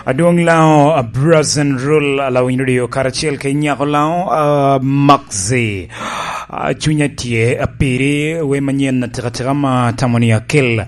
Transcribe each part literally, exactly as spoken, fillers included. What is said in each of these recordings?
Adwoŋ Laŋo, a Brazen Rule, a Lawiny Radio, karacel kede nyako Laŋo, a Maxi. A, cunya tye apiri, we manyen atika tika ma tamo ni akel,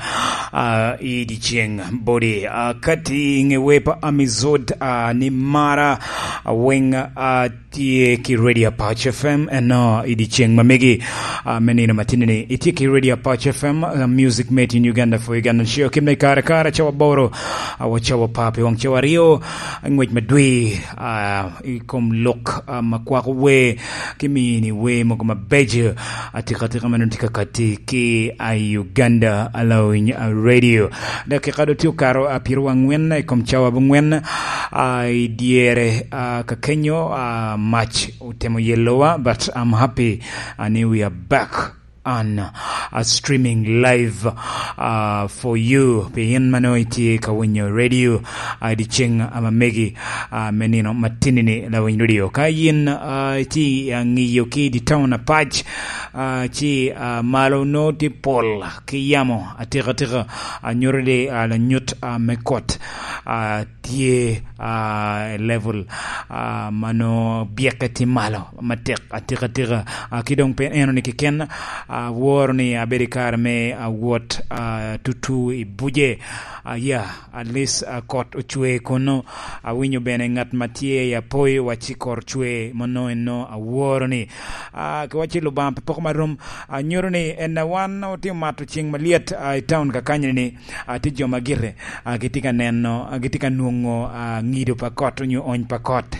a, i dyeceŋ bodi. A, kati ŋe we pa Amizod, a, ni mara, a, weŋ, a, tye ki Radio Apac F M, eno i dyeceŋ ma megi, a, me nino matini ni. Itye ki Radio Apac F M, a, Music Made in Uganda for Uganda Show. Kimne kare kare, cawa boro, a, wa cawa pa pi waŋ cawa aryo, ngwec madwi, a, i kom lok, a, ma kwako wer, ki mini wer mogo mabeco, atika tika ma nongo tye ka kati ki, a, Uganda Allowing, a, Radio. Dakika do tye okato, a, pyeraryo angwen i kom cawa abongwen, a, i dyere, a, kakenyo, a, mac otemo yelowa, but I'm happy, a, ni we are back on, a, streaming live, a, for you. Pi in ma nongo itye ka winyo radio, a, i dyeceŋ, a, ma megi, a, me nino matini ni Lawiny Radio. Ka yin, a, itye, a, ŋiyo ki i di town apac, a, ci, a, malo nongo tye pol ki yamo atika tika, a, nyuto ni, a, lanyut, a, me kot, a, tye, a, i level, a, ma nongo byekke tye malo matek atika tika. A, ki doŋ pe eno ni keken, a, aworo ni abedo i kare me, a, wot, a, tutu i buce. A, ya, at least, a, kot ocwe kono. Awinyo bene ŋat ma tye i Apoi wacci kot ocwe, mano eno aworo ni. A, ki wacci Lubanga pe poko ma rom, a, nyuto ni en a wan otye omato ceng malyet, a, i town kakanyni ni, a, tye jo ma gire, a, gitye ka neno, a, gitye ka nwoŋo, a, ŋido pa kot onyo ony pa kot.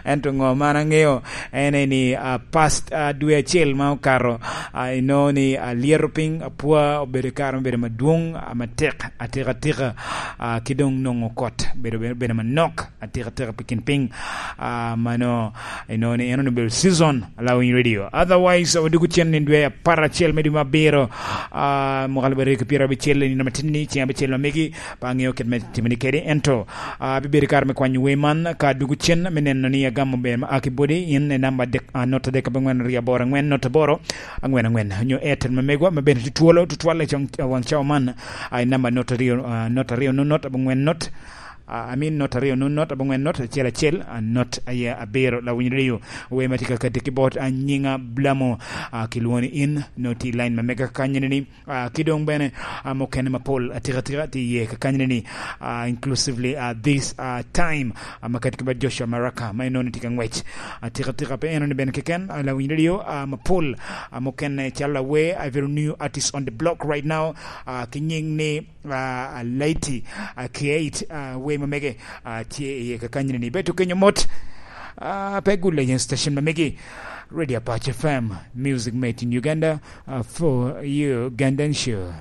Ento ŋo man aŋeo en ni, a, past, a, dwe acel ma okato, a, inongo ni, a, lyeto piny apwa obedo i kare me bedo madwoŋ, a, matek, atika tika, a, ki doŋ nwoŋo kot bedo, bedo, bedo manok, atika tika pi kin piny, a, mano, inongo ni en onongo obedo season, Allowing Radio. Otherwise, wadwogo cen i dwe apar acel me dwe me abiro, a, mwaka alip aryo ki pyerabicel, i nino matin ni, ceng abicel ma megi, pe aŋeo kit me timo ni kede, ento, a, abibedo i kare me kwanyo wer man, ka dwogo cen me neno ni agamo ber ma a ki bodi, in i namba adek, a, not adek abongwen aryo aboro angwen not aboro angwen angwen, onyo Airtel ma megwa, ma bene tye twolo, tutwalle i cong-, waŋ cawa man, a, i namba not aryo, a, not aryo not not abongwen not, a, I mean, not aryo not not abongwen not acel acel, a, not aye abiro. Lawiny Radio, wer ma tye ka kati ki bot, a, nyiŋa Blamo, a, kilwongo ni in, noti i line ma mega kanyini ni, a, ki doŋ bene, a, mukene mapol atika tika tye iye kakanyini ni, a, inclusively, a, this, a, time, a, ma kati ki bot Joshua Maraka, ma inongo ni tye ka ŋwec atika tika. Pe eno ni bene keken, a, Lawiny Radio, a, mapol, a, mukene calo awer, a, very new artist on the block right now, a, ki nyiŋ ni, a, Alaiti, a, Kieit, a, wer ma mege, a, tye iye kakanyini ni. Beto kenyo mot, a, pe gulle yen station ma megi, Radio Apache F M, music made in Uganda, a, for Ugandan show.